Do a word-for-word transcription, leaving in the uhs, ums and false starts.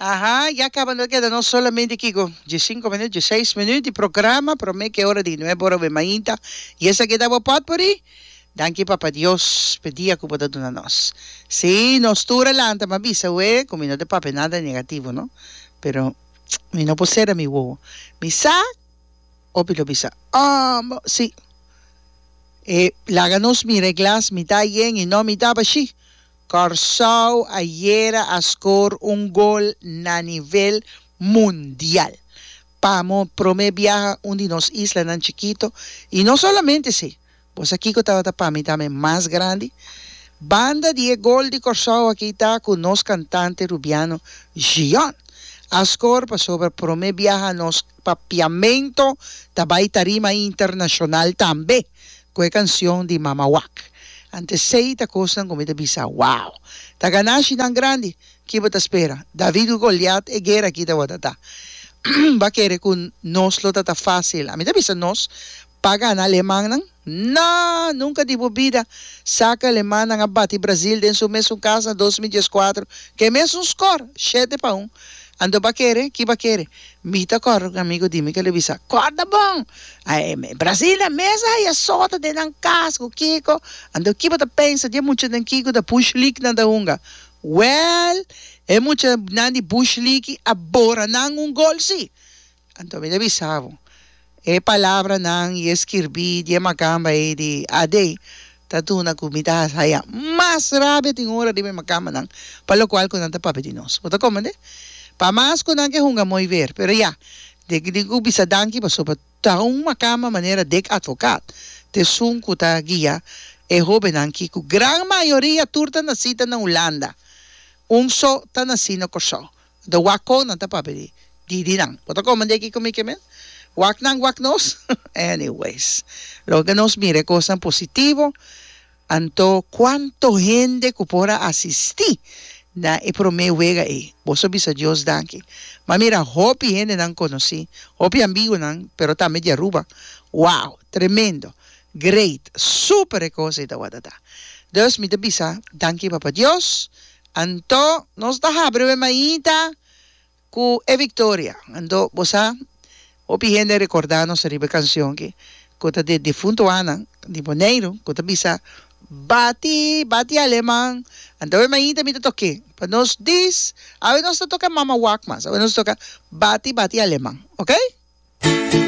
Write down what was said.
Aha, ya caba no keda no solamente kiko, diescinco minuut, diesseis minuut di programa, prome ke ora di nuebe ora we mainta. Y esaki ta bo potpourri. Danki Papa Dios p'e dia ku bo ta duna nos. Sí, nos tur a lanta, m'a bisa we ku mi no ta papia nada negativo no, pero mi no por sera mi wowo. Mi sa hopi lo bisa, oh, sí. E laga nos mira e glas mitá yen i no mitá bashí. Kòrsou ayera a skor un gol na nivel mundial. Pa mo promé biaha un di nos islanan chikito i no solamente esei. Bo sa kiko tabata pa mi tambe mas grandi? Banda di e gol di Kòrsou aki ta ku nos kantante rubiano Gion a skor pasobra promé biaha nos papiamento ta bai tarima internashonal tambe ku e kansion di Mama Wak. Ante esei ta kosnan ku mi ta bisa wow! Ta ganashinan grandi! Ki bo ta spera? David ku Goliat e guera aki tabata ta. Bo a kere ku nos lo ta ta fásil? Ami ta bisa nos Pa gana alemannan? No! Nunca di bo bida! Sa cu alemannan a bati Brazil den su mesun cas na dos mil diescuatro cu e mesun score, shete pa un. Anto ba kere? Ki ba kere? Mi ta corda un amigo di mi cu el a bisa, Corda bon! Brazil na mes a haya sota den nan cas cu kico. Anto ki bo ta pensa di e muchanan kico ta Bush League nan ta hunga? Well, e muchanan di Bush League a bora nan un gol si! Anto mi ta bisa bo, e palabranan i e skirbí di e makamba ei di A D ta duna ku mi ta haya mas rabia tin ora riba e makambanan pa lokual ku nan ta papia di nos. Bo ta komprendé? Pa mas ku nan ke hunga mooi weer. Pero ya, den tin ku bisa danki pasobra ta un makamba manera Dick Advocaat ta esun ku ta guia e hóbennan ki ku gran mayoria tur ta nasí ta na Hulanda, un so ta nasí na Kòrsou. De wak kon nan ta papia di di di nan. Bo ta komende kiko mi ke men? Wak nan wak nos? Anyways, loke nos mira e kosnan positivo, anto kuanto hende ku por a asistí na e promé wega ei. Boso bisa Dios danki. M'a mira hopi hendenan konosí, hopi amigunan, pero tambe di Aruba. Wow! Tremendo! Great! Super e kos ei tawata ta. Dus mi ta bisa danki Papa Dios. Anto nos ta habri we mainta ku e viktoria. Anto bo sa, hopi hende a rekordá nos riba e kansion aki ku ta di defunto Ana di Boneiru ku ta bisa, Bati, bati aleman. Anto we mainta mi ta tok'é pa nos dis. Awe nos ta toka Mama Wak mas. Awe nos ta toka Bati, bati aleman. Oke?